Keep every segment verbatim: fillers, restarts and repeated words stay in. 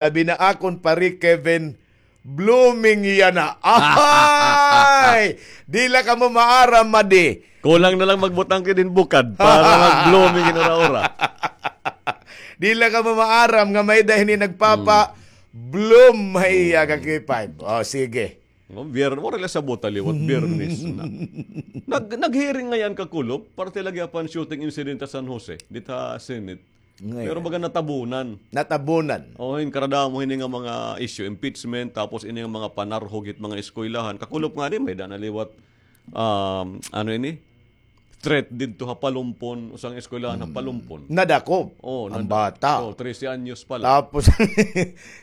Labi na akon pare Kevin, blooming yana. Ay! Di la kamo maaram, madi. Kulang na lang magbutang ka din bukad para mag-blooming in ura-ura. Di la kamo maaram nga may-ada hini nagpapa-bloom ha iya ka K five. O, sige. No, Bier-, wala la sa buta liwat, Biyernes na. Nag-, nag-hearing ngay-an kakulop, parte la gihapon shooting incident ha San Jose, dida ha Senate. Pero baga natabunan. Natabunan. O, hin karadamo hini nga mga issue, impeachment, tapos ini nga mga panarhog hit mga eskwelahan. Kakulop ngani, may-ada na liwat, um, ano ini? Threat didto ha Palumpon, usa nga eskwelahan ha Palumpon. Nadakop. O, ang bata. O, trese anyos pa la. Tapos,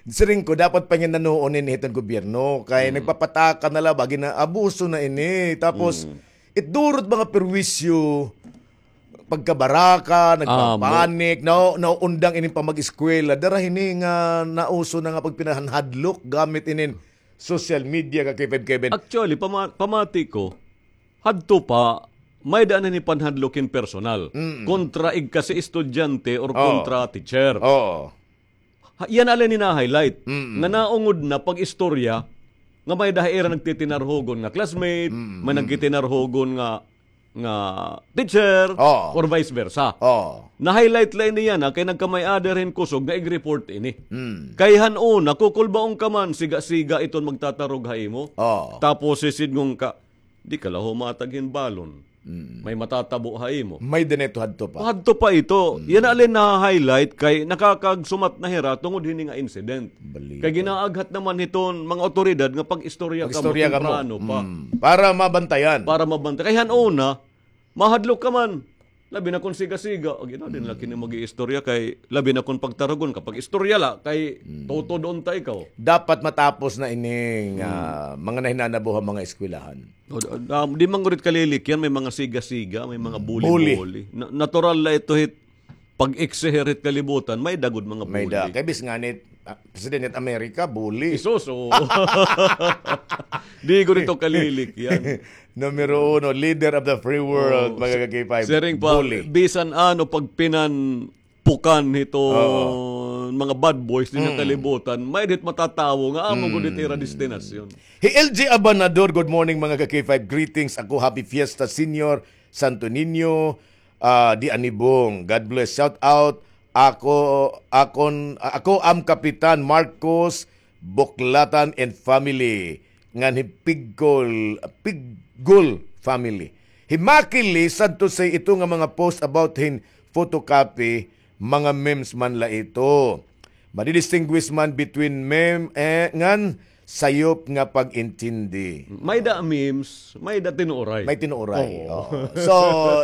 siring ko, dapat panginanoon ini hiton gobyerno. Kay nagpapataka na la ba, ginaabuso na ini. Tapos, it durot mga perwisyo, pagkabaraka, nagpapanik, nao-, nauundang ini pamag-eskwela. Dara hini nga nauso na nga pagpinahanhadlok gamit inin social media ka K five Kevin. Actually, pama-, pamati ko, hadto pa, may-ada na ni panhadlok hin personal. Kontra igkasi estudyante or kontra teacher. Oo. Ha, yana la ini na-highlight. Nga naungod na pag-istorya, nga may-ada ha ira nagtitinarhogon nga classmate, may nagtitinarhogon nga, nga teacher, or vice versa. Oo. Na-highlight la ini yana, kay nagkamay-ada hin kusog nga ig-report ini. Kay han una, kukulbaon ka man, siga-siga iton magtatarog ha imo. Oo. Tapos sisidngon ka, di ka la humatag hin balon. May matatabo ha imo. May dinhi to hadto pa. Hadto pa ito. Yana la ini na-highlight kay nakakagsumat na hira tungod hini nga incident. Kay ginaaghat naman hiton mga awtoridad nga pag-istorya kamo temprano pa. Para mabantayan. Para mabantayan. Kay han una, mahadlok ka man. Labi na kon siga-siga. O, gina, di na la kini mag-iistorya kay labi na kon pagtarugon ka. Pag-istorya la kay tutod unta ikaw. Dapat matapos na ini nga mga nahinanabo ha mga eskwelahan. O, d-, um, di man gud it kalilik yan, may mga siga-siga, may mga bully-bully. Na-, natural la ito hit pag-eksehir hit kalibutan, may-ada gud mga bully. May-ada. Kay bis ngani, ah, presidente hit Amerika, bully. Isus, oo. Di gud ito kalilik yan. Numero uno, leader of the free world, mga ka-K five. Siring pa, bully. Bisan ano, pagpinan pukan hiton mga bad boys dinhi ha kalibutan, may-ada hit matatawo nga amo gud it ira destinasyon. Hi L G Abanador, good morning, mga ka-K five. Greetings. Ako, happy fiesta, Señor Santo Niño, ah, di Anibong. God bless. Shout out. Ako, akon, ah, ako am Kapitan Marcos Buklatan and family. Ngan hi Piggol, Piggol family. Hi Maki Lee, sad to say, ito nga mga post about hin photocopy, mga memes man la ito. Madidistinguish man between meme, eh, ngan sayop nga pag-intindi. May-ada memes, may-ada tinuoray. May tinuoray. Oo. Oo. So,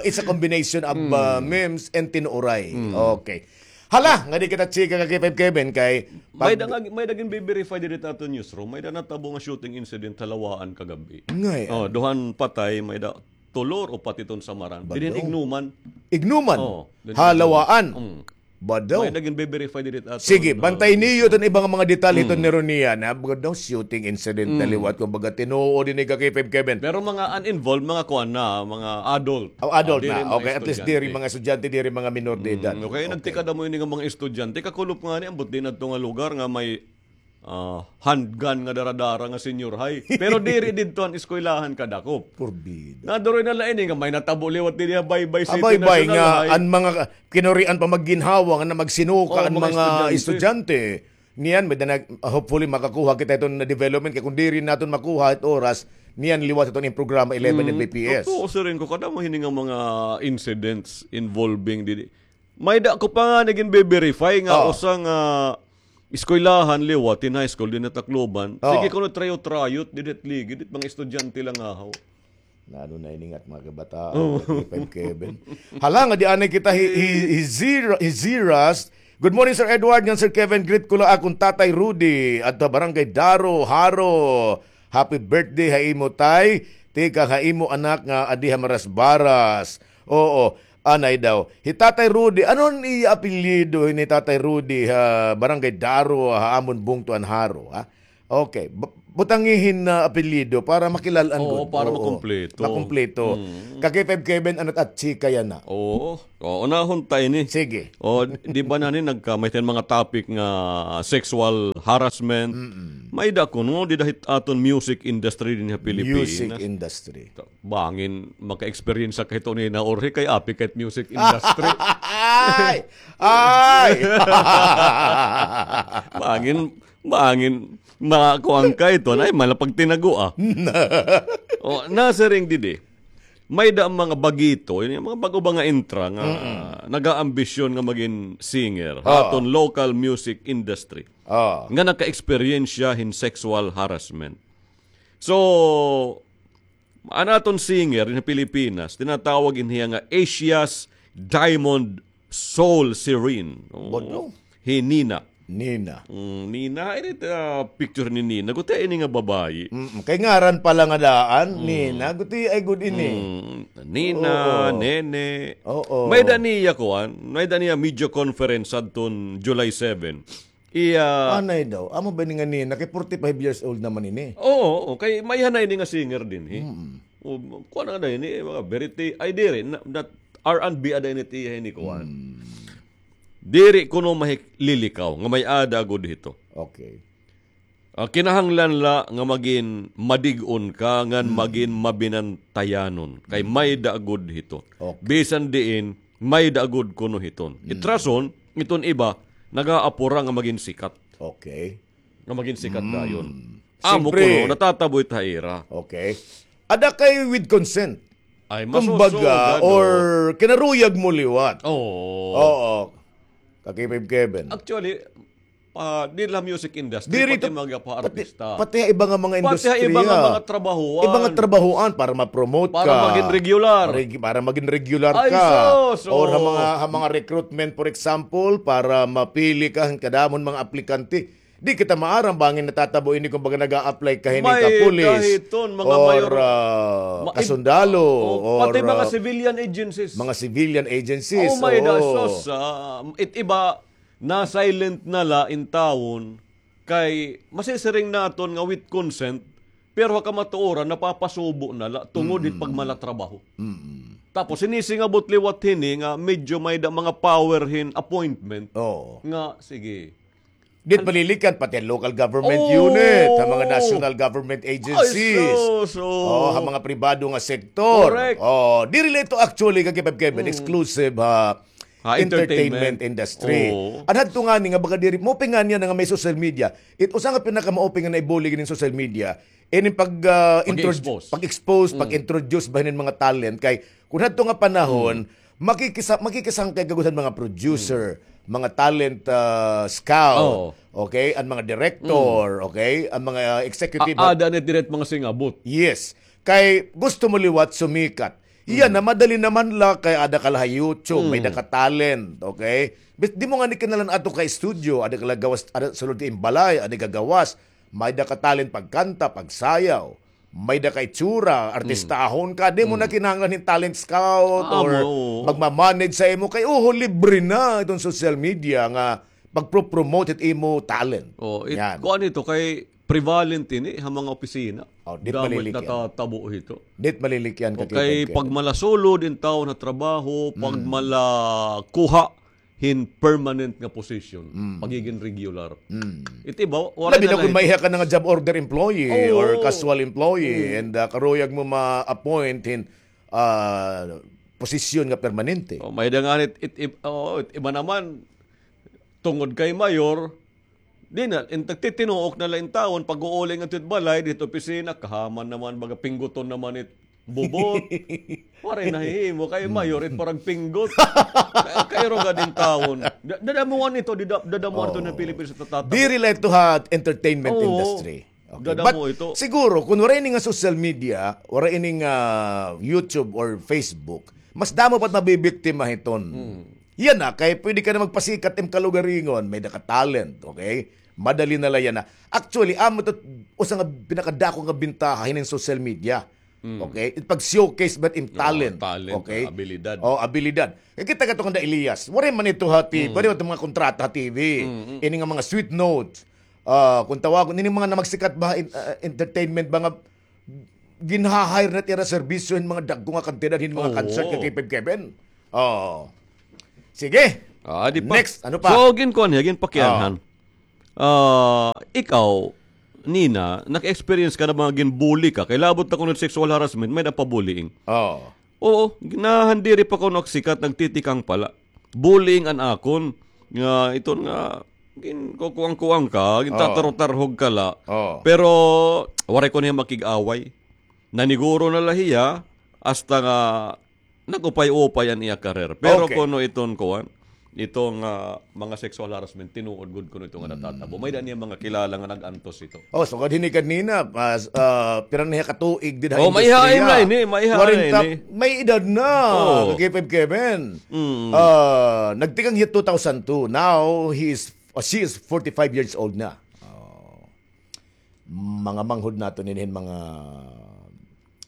it's a combination of, uh, memes and tinuoray. Okay. Hala, nga di kita chika ka K five Kevin kay pag- May-ada nga, may-ada ginbe-verify diri ha aton newsroom. May-ada natabo nga shooting incident ha Lawaan kagab-i. Ngay-an. O, duha an patay, may-ada tulo or upat iton samaran. Dinhi hin Ignuman. Ignuman? O, dinhi hin Ignuman. Ha Lawaan? Mm. Badaw. May-ada ginbe-verify diri ha aton, ah, newsroom. Sige, bantay niyo iton iba nga mga detalye iton ni Ronia na, bugad daw shooting incident na liwat, kumbaga, tinuod ini ka K five Kevin. Pero mga uninvolved, mga kuan na, mga adult. O, adult na. Okay, at least diri mga estudyante, diri mga minor de edad. Mm, okay, nagtikada mo ini nga mga estudyante, kakulop ngani, ambot dinhi adto nga lugar nga may, ah, handgun nga dara-dara nga senior high. Pero diri didto an eskwelahan kadakop. Porbida. Naduroy na la ini nga may natabo liwat dinhi ha Baybay City National High. Baybay nga an mga ka-, kinurian pa magginhawa nga na magsinuka an mga estudyante. Niyan, may danag, hopefully, makakuha kita iton development. Kay kung diri naton makuha it oras, niyan liwat iton in programa eleven M B P S. Totoo, siring ko, kadamo hini nga mga incidents involving didi. May-ada ko pa nga nagin-verify nga usa nga eskwelahan liwat, in high school, dinhi ha Tacloban. Sige, kuno tryout-tryout, didi ha ligid, mga estudyante la ngahaw. Naano na ini nga mga kabataan, K five Kevin. Hala, nga di anay kita hi, hi, hi Zira-, hi Ziras. Good morning, Sir Edward, ngan Sir Kevin. Greet ko la akon Tatay Rudy, adto ha Barangay Daro, Jaro. Happy birthday ha imo, Tay. Tikang ha imo anak nga adi ha Marasbaras. Oo, anay daw. Hi Tatay Rudy, ano an iya apelyido ni Tatay Rudy ha Barangay Daro, ha amon bungto an Jaro, ha? Okay. Bu-, butangi hin apelyido para makilal-an gud. Oo, para makumpleto. Makumpleto. Mm. Ka K five Kevin, ano, at chika yana. Oo. O, unahon ta ini. Sige. O, di ba na ni nagka-, may tin mga topic nga sexual harassment. Mm-mm. May-ada kuno dida hit aton music industry dinhi ha Pilipinas. Music industry. Bangin maka-experience ka hito nina, Jorge, kay api ka hit music industry. Ay! Ay! Bangin, bangin makuan ka hito, ay, malapag tinago, ah. O, nasiring didi. May-ada mga bagito, ini mga bag-o ba nga intra nga nagaambisyon nga magin singer ha aton local music industry. Oo. Nga naka-experience hin sexual harassment. So, an aton singer dinhi ha Pilipinas, tinatawag ini hiya nga Asia's Diamond Soul Siren. Oo. Bodo? Hi Nina. Nina. Mm, Nina, ini, ah, picture ni Nina. Guti ini nga babayi. Mm, kay ngaran pa la nga daan, Nina. Guti ay gud ini. Mm, Nina, Nene. Oo. May-ada niya kuan, may-ada niya media conference adton July seven. Iya. Anay daw. Amo ba ini nga Nina? Kay forty-five years old naman ini. Oo, oo. Kay may-ada na ini nga singer dinhi. Mm. O, kuan na ini, mga verity, ay diri, na, that R and B ada ini tiya ini kuan. Mm. Diri kuno mahilikaw nga may-ada gud hito. Okay. Ah, kinahanglan la nga magin madig-on ka, ngan magin mabinantayanon. Kay may-ada gud hito. Okay. Bisan diin, may-ada gud kuno hiton. It rason, iton iba, nagaapura nga magin sikat. Okay. Nga magin sikat dayon. Amo kuno, natatabo it ha ira. Okay. Ada kay with consent. Ay, kumbaga, or kinaruyag mo liwat. Oo. Oo. Kakipib Kevin. Actually, pa, di la music industry, diri pati to, mga pa-artista. Pati ha iba nga mga industriya. Pati ha iba nga mga trabahoan. Iba nga trabahoan para ma-promote ka. Para magin regular. Para magin regular ka. Ay, sus, oo. Or ha mga, ha mga recruitment, for example, para mapili ka, kadamon mga aplikante. Di kita maaram bangin natatabo ini kumbaga naga-apply ka hini ka pulis or, ah, kasundalo or pati mga civilian agencies. Mga civilian agencies. Oh, may-ada, sus, ah, it iba, na-silent na la intawon kay masisiring naton nga with consent, pero ha kamatuoran napapasubo na la tungod hit pagmalatrabaho. Tapos sinisingabot liwat hini nga medyo may-ada mga power hin appointment nga sige. Dit malilikyan pati an local government unit, ha mga national government agencies. Ay, sus, oo. Oh, ha mga pribado nga sektor. Correct. Oh, diri la ito actually, Kakipib Kevin, exclusive ha entertainment industry. Oo. An hadto ngani nga baga diri, maupay ngani yana nga may social media. It usa nga pinakamaupay nga naibulig inin social media, ining pag, ah, intro-, pag-expose, pag-expose, pag-introduce ba hinin mga talent kay kun hadto nga panahon, makikisa-, makikisangkay ka gud han mga producer, mga talent, ah, scout, okay, an mga director, okay, an mga, ah, executive. Ada na diri mga singabot. Yes. Kay gusto mo liwat sumikat. Yana, madali naman la kay ada ka la ha YouTube, may-ada ka talent, okay? But di mo ngani kinahanglan adto ka studio, ada ka la gawas, ada sulod ka im balay, ada ka gawas, may-ada ka talent pagkanta, pagsayaw, may-ada ka itsura, artistahon ka, di mo na kinahanglan hin talent scout or magma-manage sa imo kay, oho, libre na iton social media nga pagpro-promote hit imo talent. Oh, it, kuan ito kay prevalent ini ha mga opisina. Oh, dit malilikyan. Natatabo hito. Dit malilikyan ka kay pagmalasulod in tawon ha trabaho, pagmalakuha hin permanent nga position, pagigin regular. It iba, wala na. Labi na kun maiha ka na nga job order employee or casual employee and, ah, karuyag mo ma-appoint hin, ah, posisyon nga permanente. Oh, may-ada ngani it, it, it, oh, it iba naman, tungod kay mayor, di na, in, nagtitinuok na la intawon, pag-uuli ngadto it balay, didto opisina, kahaman naman, baga pingguton naman it bubot. Waray nahihimo, kay mayor, it parang pinggot. Kay, kay ruga din tawon. Da-, dadamuhan ito, dida-, dadamuhan ito ng Pilipinas sa tatatabo. Diri la ito ha entertainment industry. Okay. Dadamo ito. But siguro, kung waray ini nga social media, waray ini nga YouTube or Facebook, mas damo pa it mabibiktima hiton. Yana, kay pwede ka na magpasikat im kalugaringon, may-ada ka talent, okay? Madali na la yana. Actually, amo ito usa nga pinakadako nga bintaha hinin social media. Okay? It pag-showcase ba it im talent. Talent, okay? Abilidad. Oh, abilidad. Kay kita kato kanda Elias, waray man ito ha T V, waray man ito mga kontrata ha T V. Ini nga mga sweet notes. Ah, kung tawagon, ini mga na magsikat ba, in-, ah, entertainment ba nga ginha-hire na it ira serbisyo hin mga dagko nga kantidad hin mga concert ka K five Kevin? Oo. Sige. Ah, di pa. Next, ano pa? So, ginkuan hiya, ginpakianhan. Ah, ikaw, Nina, naka-experience ka na ba nga ginbully ka? Kay labot na kuno sexual harassment, may-ada pa bullying. Oo. Oo, nahandiri pa kuno ak sikat, nagtitikang pala. Bullying an akon, nga iton nga, ginkukuang-kuang ka, gintatarho-tarhog ka la. Oo. Pero, waray kuno hiya makig-away. Naniguro na la hiya, hasta nga nag-upay-upay an iya career. Pero kuno iton kuan, iton, ah, mga sexual harassment, tinuod gud kuno ito nga natatabo. May-ada niya mga kilala nga nag-antos ito. Oh, sugad hini kanina, ah, pira na hiya ka tuig dida ha industriya. Oh, maiha na ini, maiha na ini. May edad na, ka K five Kevin. Ah, nagtikang hiya two thousand two. Now, he is, ah, she is forty-five years old na. Oh. Mga manghod naton ini hin mga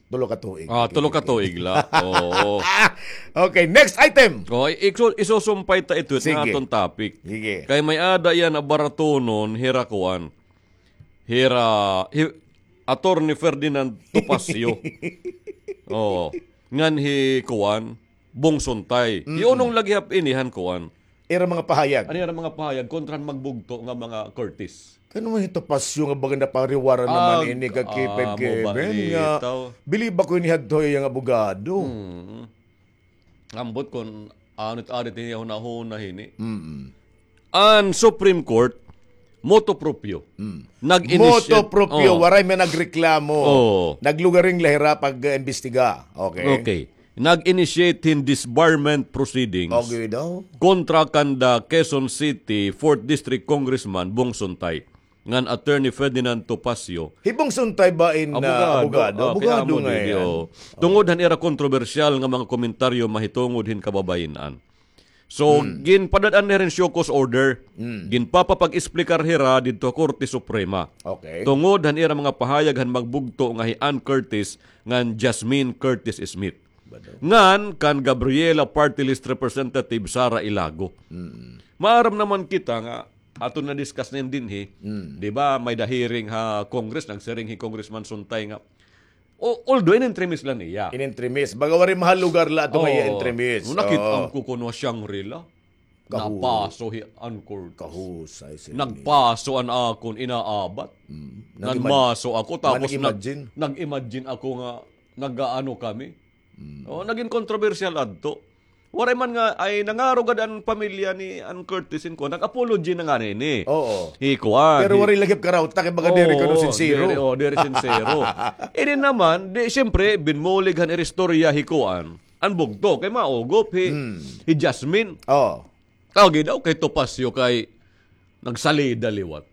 tulo ka tuig. Ah, tulo ka tuig la. Oo. Okay, next item. Oh, i-, iso-, isusumpay ta ito it nga aton topic. Sige. Kay may-ada iya nabaratunon, hira kuan. Hira, hi-, Attorney Ferdinand Topacio. Oo. Ngan hi kuan, Bong Suntay. Hiunong la gihap ini han kuan. Ira mga pahayag. An ira mga pahayag kontra han magbugto nga mga Curtis. Kay ano man hi Topacio nga baga napariwara naman ini ka K five Kevin nga. Believe ako ini hadto iya nga abogado. Ambot kon ano it arit niya hunahuna hini. An Supreme Court, motu proprio. Nag-initiate. Motu proprio, waray man nagreklamo. Oo. Naglugaring la hira pag-imbestiga. Okay. Okay. Nag-initiate hin disbarment proceedings kontra kan the Quezon City fourth District Congressman Bong Suntay ngan Attorney Ferdinand Topacio. Hi Bong Suntay ba in, ah, abogado? Abogado, abogado ngay-an. Tungod han ira kontrobersyal nga mga komentaryo mahitungod hin kababayin-an. So, ginpadad-an na hira hin show cause order. Ginpapapag-explicar hira didto ha Korte Suprema. Okay. Tungod han ira mga pahayag han magbugto nga hi Ann Curtis ngan Jasmine Curtis Smith. Ngan kan Gabriela Party List Representative Sara Ilago. Maaram naman kita nga aton na-discuss na ini dinhi. Di ba, may-ada hearing ha Congress, nagsiring hi Congressman Suntay nga, o-, although in-entremist la niya. In-entremist. Baga waray mahalugar la ato nga iya entremist. Nakit-an ko kuno ha Shangri-La. Napaso hi Ann Curtis. Kahusay sila niya. Nagpaso an akon inaabat. Nagmaso ako, tapos nag-imagine ako nga nag-aano kami. Oh, nagin kontrobersyal adto. Waray man nga, ay nangaro gad an pamilya ni Ann Curtis hin kuan, nag-apology na ngani ini. Oo. Hi kuan. Pero waray lagi karawta kay baga diri kuno sinsero. Diri, oh, diri sinsero. Ini naman, di, siyempre, binmulig han ira istorya hi kuan. An bugto, kay maugop hi, hi Jasmine. Oo. Kagi daw kay Topacio kay nagsalida liwat.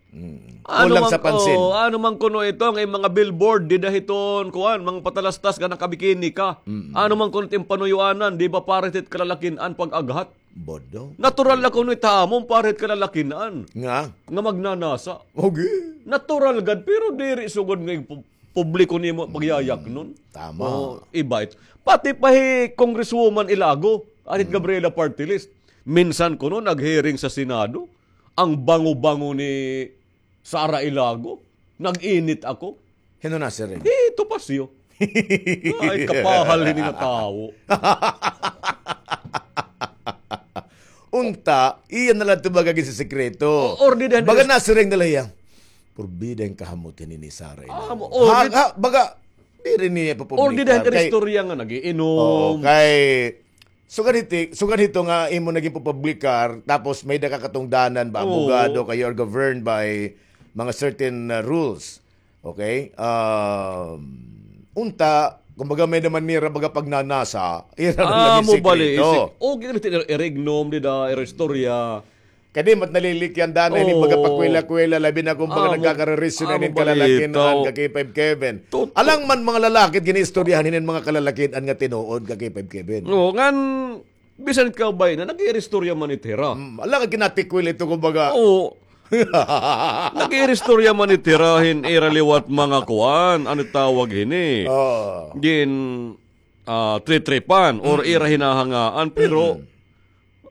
Kulang sa pansin. Ano man kuno ito, ang mga billboard, dida hiton, kuan, mga patalastas nga nakabikini ka. Ano man kuno it im panuyoanan, di ba, para hit kalalakin-an pag-aghat? Bodo. Natural na kuno it hamon para hit kalalakin-an. Nga? Nga magnanasa. Okay. Natural gad, pero diri sugod nga pu-, publiko nimo pagyayaknon. Tama. O, iba ito. Pati pa hi Congresswoman Ilago, an hit Gabriela Party List. Minsan kuno nag-hearing sa Senado, ang bango-bango ni Sara Ilago, nag-init ako. Hin-o nasiring? Hi Topacio. Ay, kapahal hini nga tawo. Unta, iya na la ito baga ginsisikreto. Baga nasiring na la hiya. Purbida hin kahamot hini ni Sara Ilago. Baga, diri niya ipapublikar. Or di dahan ira istorya nga nag-iinom. Oo, kay sugad hiti, sugad hito nga imo na ginpapublikar, tapos may-ada ka katungdanan ba, abogado ka, you are governed by mga certain, uh, rules. Okay? Um, unta, kumbaga may-ada man nira baga pagnanasa, ira na la ginsikreto. O, ginamit ira, ira ignom, dida, ira istorya. Kadi mat nalilikyan dana ini baga pakwela-kwela, labi na kon baga nagkakarelasyon na inin kalalakin-an ka K five Kevin. Alang man mga lalaki gin-iistoryahan hinin mga kalalakin-an nga tinuod ka K five Kevin. Oo, ngan bisan ikaw bay na, nag-iiristorya man it hira. Alang ginatikwil ito kumbaga. Oo. Nag-iiristorya man it hira hin ira liwat mga kuan, ano tawag hini? Gin, ah, tritripan or ira hinahangaan, pero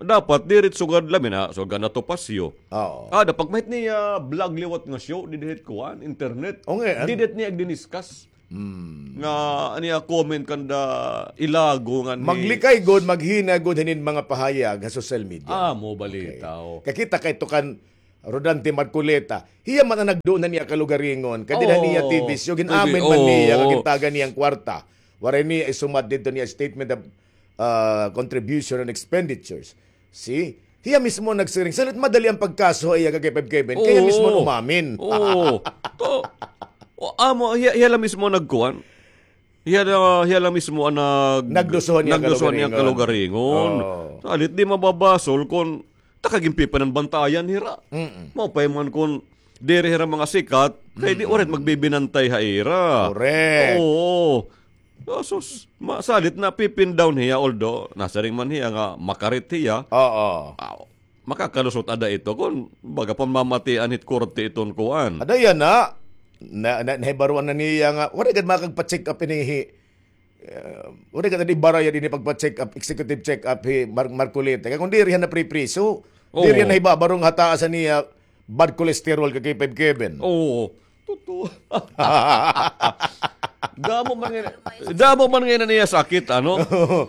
dapat diri sugad lamin na, sugad na Topacio. Oo. Ah, dapat mahit niya vlog liwat nga show, didihit kuan, internet. O nga, an- Didit niya agdiniskas. Hmm. Nga, ano ya, comment kanda ilago nga ni Maglikay gud, maghina gud hinin mga pahayag ha social media. Ah, mo balita, okay. Kakita kay tukan Rodante Marcoleta. Hiya man an nagduo na niya kalugaringon. Kay dida niya T V show, gin-amin man niya nga gintagan niya an kwarta. Waray niya isumat didto niya statement of, ah, contribution and expenditures. See? Hiya mismo nagsiring. Salit madali an pagkaso ha iya kay Kevin. Kay hiya mismo umamin. Oo. To, o, amo, hiya, hiya la mismo nagkuan. Hiya na, hiya la mismo an nag-, nagduso niya kalugaringon. Oo. Salit di mababasol kon taka ginpipananbantayan hira. Mm-mm. Maupay man kon diri hira mga sikat, kay di orit magbibinantay ha ira. Correct. Oo. Sus, ma-, salit na pipin down hiya, although nasiring man hiya nga makarit hiya. Oo. Aw, makakalusot ada ito kon baga pamamatian hit korte iton kuan. Ada yana, na, na, nahibaruan na niya nga, waray gad makagpa-check up ini hi, eh, waray gad ibarayad ini pagpa-check up, executive check up hi Mar-, Marcoleta. Kay kon diri hiya napripriso, diri hiya nahibabarong hataas niya bad cholesterol kay K five Kevin. Oo. Totoo. Damo man nga, damo man nga niya sakit, ano?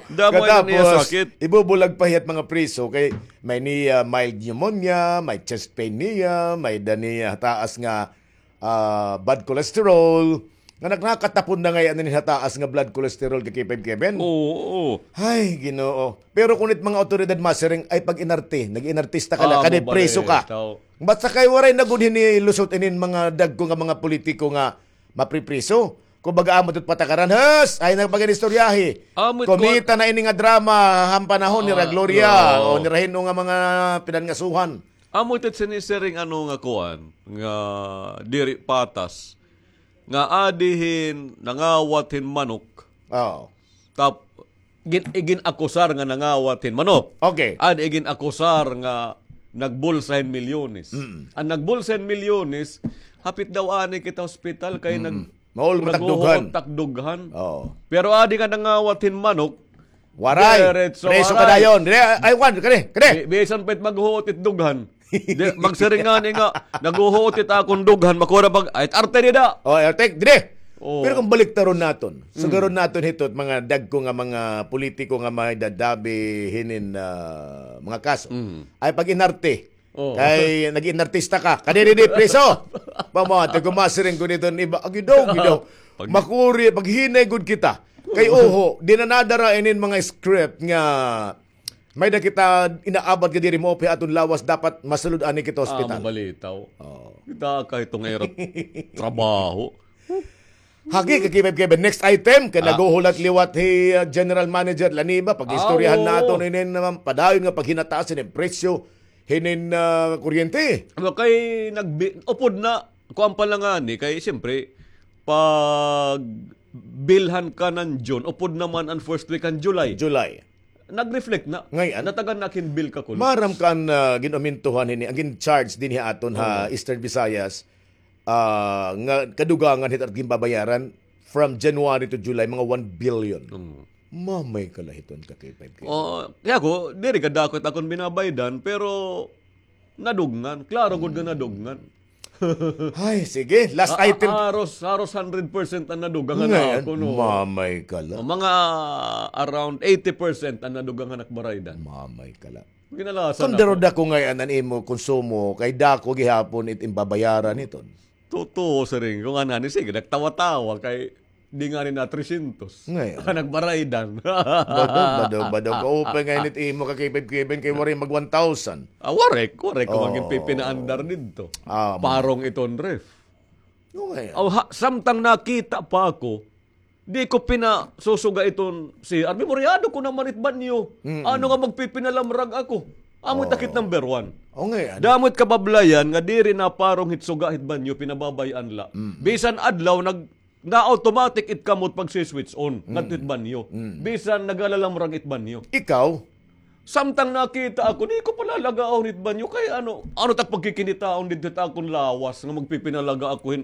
Damo nga niya sakit. Ibubulag pa hiya hit mga priso kay may niya mild pneumonia, may chest pain niya, may da niya taas nga, ah, bad cholesterol. Nga nakakatapon na ngay-an ini ha taas nga blood cholesterol kay K five Kevin. Oo, oo. Ay, Ginoo. Pero kun it mga awtoridad masiring, ay pag-inarte, nag-inartista ka na, kadi priso ka. Basta kay waray na gud hinilusot inin mga dagko nga mga politiko nga mapripriso. Kumbaga, amo it patakaran, hus, ay nagpag-inistoryahi. Kumita na ini nga drama, han panahon nira Gloria, o nira hin-o nga mga pinangasuhan. Amo it sinisiring ano nga kuan, nga diri patas. Nga adi hin nangawat hin manok. Oo. Tap-, gin-, igin-akusar nga nangawat hin manok. Okay. Adi igin-akusar nga nagbulsa hin milyones. Mm. An nagbulsa hin milyones, hapit daw anay kita hospital kay nag-, maol man takdughan. Oo. Pero adi nga nangawat hin manok, waray. Diretso, preso ka dayon. Dire, ay, wan, kani, kani. Bi-, bisan pa it maghuot it dughan. Di, magsiring ngani nga, naghuhuot it akon dughan, makura pag, ay, arte dida. O, arte, dire. Oo. Pero kon baliktaron naton, sugaron naton hito, mga dagko nga mga politiko nga may dadabi hinin, ah, mga kaso. Mm. Ay, pag-inarte. Oo. Kay nag-inartista ka. Kadi, didi, preso. Pamati, kumasiring ko nito, iba, agidaw, agidaw. Makuri, paghinay gud kita. Kay, oho, di na nadara inin mga script nga may da kita inaabat nga diri maupay aton lawas, dapat masulod ani kita ospital. Ah, mabalitaw. Oo. Kita ka itong erot trabaho. Hagi, kay Kevin, Kevin. Next item, kay naghuhulat liwat hi, uh, General Manager Laniba, pag-istoryahan naton inin naman, padayon nga paghinataas inin presyo, hinin, uh, kuryente. Ano kay nagbi-, upod na, kuan pa lang ani, kay siyempre, pag bilhan ka ng June, upod naman ang first week ng July. July. Nag-reflect na. Ngay-an. Natagan na kin bill ka kuno. Maaram ka an, ah, gin-umintuhan hini, an gin-charge dinhi ha aton ha Eastern Visayas, ah, nga kadugangan hit at ginbabayaran from January to July, mga one billion. Mm. Mamay kalahiton ka kay five K. Oh, kaya ko, diri kadako it akon binabaydan, pero nadugngan. Klaro gud nga nadugngan. Ay, sige. Last item. Haros, haros hundred percent an nadugang han ako, no? Mamay ka la. O, mga around eighty percent an nadugang han ak baraydan. Mamay ka la. Ginalasan ako. Kon daro dako ngay-an an imo konsumo, kay dako gihapon it imbabayaran hiton. Totoo, siring ko ngani, sige, nagtawa-tawa kay di ngani na trescientos. Ngay-an. Nagbaraydan. Badog, badog, badog. Kaupay ngay-an it imo kakibib-kibin kay waray mag one thousand. Ah, waray, waray ko magin pipinaandar didto. Ah, parong iton ref. Aw, ha, samtang nakita pa ako, di ko pinasusuga iton C R. Memoryado ko naman it banyo. Mm-mm. Ano nga magpipinalamrag ako? Amo it akit number one. O, ngay-an. Damo it kabablayan nga diri na parong hit suga hit banyo, pinababay-an la. Mm-mm. Bisan adlaw, nag-, na-automatic it kamot pagsi-switch on, ngadto it banyo. Mm. Bisan nagalalamrag it banyo. Ikaw, Samtang nakita ako, di ko palalagaon hit banyo. Kay ano, ano tak pagkikinitaon didto hit akon lawas nga magpipinalaga ako hin.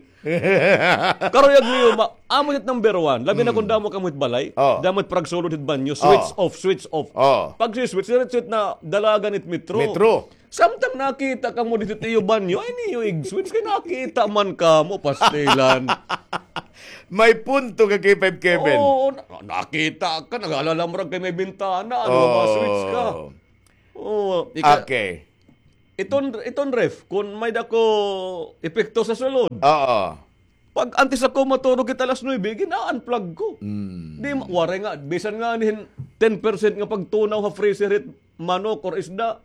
Karuyag niyo, ma-, amo it number one. Labi na kung damo kamo hit balay. Oh. Damo it paragsulod hit banyo. Switch off, switch off. Oh. Pag si-switch, diretso it na dalagan it metro. Metro. Samtang nakita kamo didto it iyo banyo, ay niyo ig-switch kay nakita man kamo, pastilan. May punto ka, K five Kevin. Oo, na-, nakita ka, nag-alala mo ra kay may bintana, ano, ma-switch ka. Oo. Ika-, okay. Iton, iton ref, kung may dako epekto sa sulod. Oo. Pag antes ako matulog, it alas nuebe, gina-unplug ko. Mm. Di ma-, waray nga, bisan nga nihin ten percent nga pagtunaw ha freezer it manok or isda,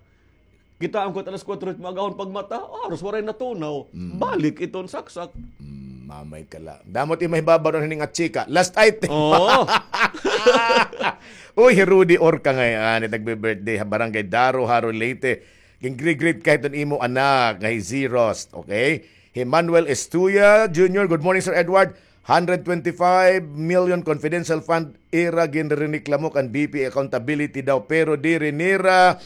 kitaan ko it alas kuwatro it maagahon pagmata, ah, haros waray natunaw. Mm. Balik iton saksak. Mm, mamay ka la. Damo it mahibabaw na hining atsika. Last item. Oo. Uy, hi Rudy Orca ngay-an, it nagbe-birthday ha Barangay Daro, Jaro, Leyte. Gin-greet-greet ka hiton imo anak nga hi Zeros, okay? Hi Manuel Estuya Junior, "Good morning, Sir Edward. Hundred twenty-five million confidential fund ira ginriniklamo kan B P A accountability daw, pero diri nira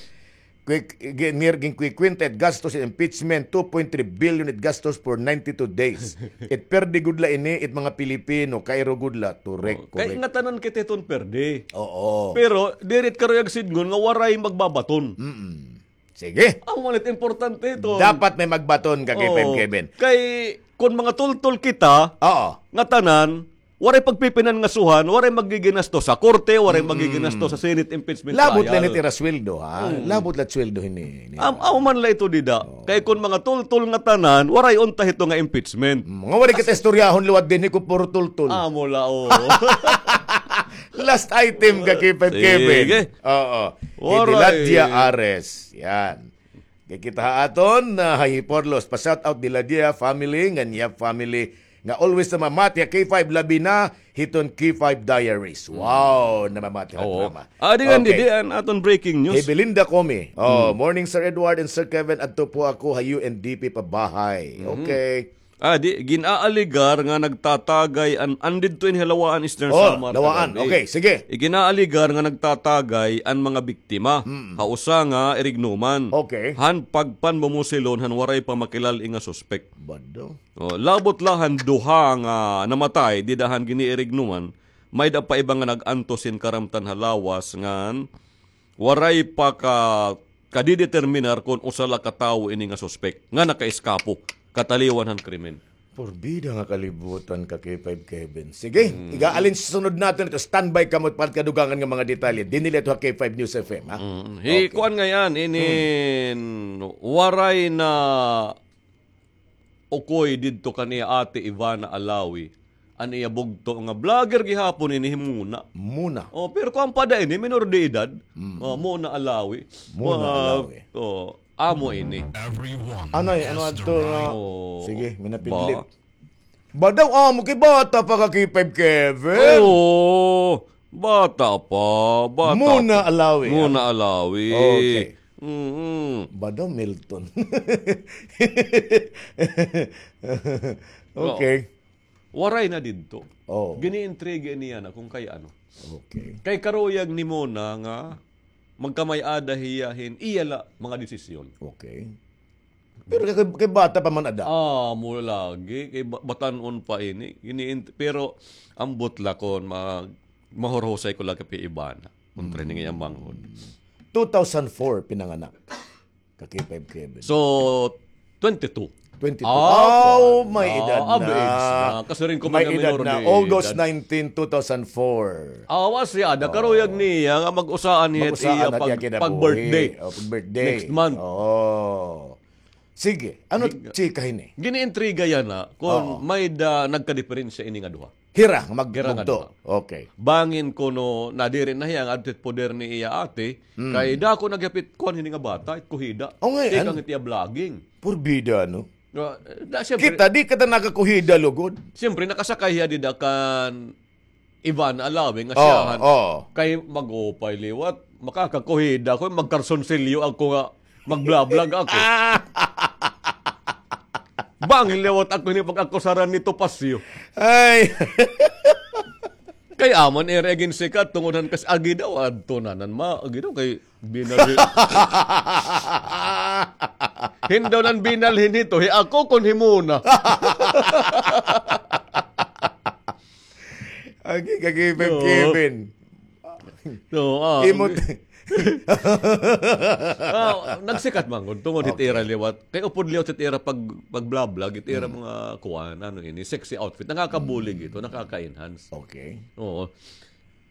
quick, gin-, nir-, ginkukwenta it gastos sa impeachment, two point three billion it gastos for ninety-two days." It perde gud la ini, it mga Pilipino, kairo gud la, turek, kay korek. Ngatanan kita hiton perde. Oo. Pero diri it karuyag sidngon nga waray magbabaton. Mm-mm. Sige. Amo man it importante ito. Dapat may magbaton ka, K five Kevin. Kay, kun mga tultol kita, oo, ngatanan, waray pagpipinangasuhan, waray magiginastos sa korte, waray magiginastos sa Senate impeachment trial. Labot la ini it ira sweldo, ha? Mm. Labot la it sweldo hini, hini. Am-, amo man la ito dida. Oo. Kay kun mga tultol ngatanan, waray unta hito nga impeachment. Mm, nga waray kita istoryahon liwat dinhi kun puro tultol. Amo la, oo. Last item ka, K five Kevin. Sige. Oo. Hi Diladia Ares. Yan. Kay kita ha aton, ah, hi Porlos, pa-shout out Diladia family, ngan Yap family, nga always namamati ha K five, labi na hiton K five Diaries. Wow, namamati ha drama. Adi nga, okay. Didi an aton breaking news. Hi Belinda Comi. Oh, "Morning, Sir Edward and Sir Kevin. Adto po ako ha U N D P pa bahay." Okay. Ah, di, gin-aaligar nga nagtatagay an, an didto ini ha Lawaan, Eastern Samar. Oh, Lawaan. Okay, sige. Gin-aaligar nga nagtatagay an mga biktima ha usa nga irignuman. Okay. Han pagpanmumusilon han waray pa makilal-i nga suspek. Bado. Oh, labot la han duha nga namatay dida han giniirignuman, may-ada pa iba nga nag-antos hin karamtan ha lawas ngan waray pa ka, kadideterminar kon usa la ka tawo ini nga suspek nga nakaeskapo kataliwan han krimen. Purbida nga kalibutan ka, K five Kevin. Sige, iga-alin sa sunod naton ito. Standby kamo para kadugangan nga mga detalye. Dinhi la ito ha K five News F M, ha? Mm. Hi kuan ngay-an, inin waray na ukoy didto kan iya ate Ivana Alawi, an iya bugto nga vlogger gihapon ini, hi Mona. Mona. Oh, pero kuan pa da ini, minor de edad. Mm. Oh, Mona Alawi. Mona Alawi. Oh, amo ini. Anay, ano adto nga? Oh, sige, minapidlit. Ba daw amo kay bata pa ka, K five Kevin? Oo, bata pa, bata pa. Mona Alawi, Mona Alawi. Okay. Mm-mm. Ba daw Milton? Okay. Waray na didto. Oh. Gini-intriga niya na kung kay ano. Okay. Kay karuyag ni Mona nga magkamay-ada hiya hin iya la mga desisyon. Okay. Pero kay, kay bata pa man ada. Ah, amo lagi. Kay ba-, batan-on pa ini. Ini-, pero ambot la kon ma-, mahurhusay ko lagi pa hi Ivana. Kontra ini nga iya manghod. Two thousand four pinanganak. Ka K five Kevin. So, twenty-two. Twenty-two. Ah, may edad na. Kasiring ko man nga minor de edad. August nineteen, two thousand four. Awa siya, ada karuyag niya nga mag-usaan niya iya pag-birthday. Oh, pag-birthday. Next month. Oo. Sige, ano chika hini? Giniintriga yana kon may-ada nagkadiperensya ini nga duha. Hira nga magbugto. Okay. Bangin kuno nadiri na hiya nga adto it poder ni iya ate, kay dako na gihap it kuan hini nga bata, it kuhida. O, ngay-an. Tikang it iya vlogging. Purbida, no? Kita, di kita nakakuhida lugod. Siyempre, nakasakay hiya dida kan Ivana Alawi nga siyahan. Kay mag-upay liwat, makakakuhida ko, magkarsunsilyo ako nga magblablag ako. Bangin liwat ako ini pag-akusaran ni Topacio. Ay. Kay amo an ira ginsikat tungod han kas agi daw adto na nan ma agi daw kay binalhin. Hin daw nan binalhin hito hi ako kon himo na. Agi ka Kevin, Oo. Kevin. So, ah, Imot. Ah, nagsikat man gud tungod hit ira liwat. Kay upod liwat hit ira pag pag-vlog, hit ira mga kuan, ano ini, sexy outfit. Nakakabulig ito, nakaka-enhance. Okay. Oo.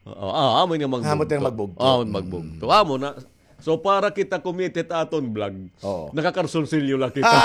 Oo, ah, amo nga magbugto. Amo nga magbugto. Ah, magbugto. Amo na. So para kita kumita hit aton vlog, nakakalsonsilyo la kita.